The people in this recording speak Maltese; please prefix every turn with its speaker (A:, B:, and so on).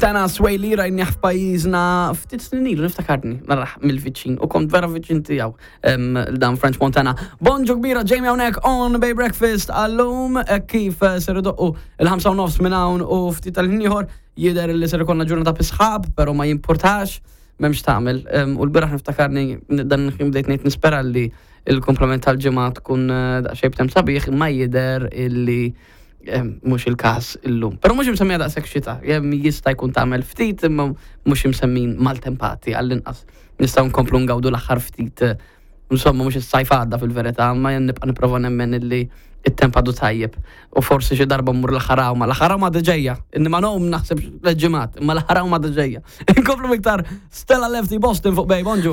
A: Tana Sway li rajnieh f'pajjiżna ftit snin ilu niftakarni narah mill-viċin u kont vera viċin tiegħu dan French Montana. Bonġu kbira Jamie hawnhekk on Bay Breakfast għallum eh, kif eh, ser idoqqu il-5 nofs minn hawn u ftit tal-ħin ieħor jidher li ser ikollna ġurnata bisħab, però ma jimpurtax m'hemmx tagħmel. U l-bieraħ niftakarni dan il-ħin bdejt ngħid nispera li il-komplement tal-ġimgħa tkun eh, daqsxejn b'tem sabiħ ma jidher illi mhux il-każ illum. Però mhux imsemmija daqshekk xita, jista' jkun tagħmel ftit imma mhux imsemmin maltempati għall-inqas. Nistgħu nkomplu ngawdu l-aħħar ftit insomma mhux is-sajf għadda fil-verità, ma nibqa' nipprova nemmen illi it-temp għadu tajjeb. U forsi xi darba mmur l-aħħar ma l-aħħar ma ġejja. Inni ma nom naħseb l-ġimgħat, imma l-aħħar ma ġejja. Inkomplu iktar Stella Lefty Boston fuq Bay, bonġu.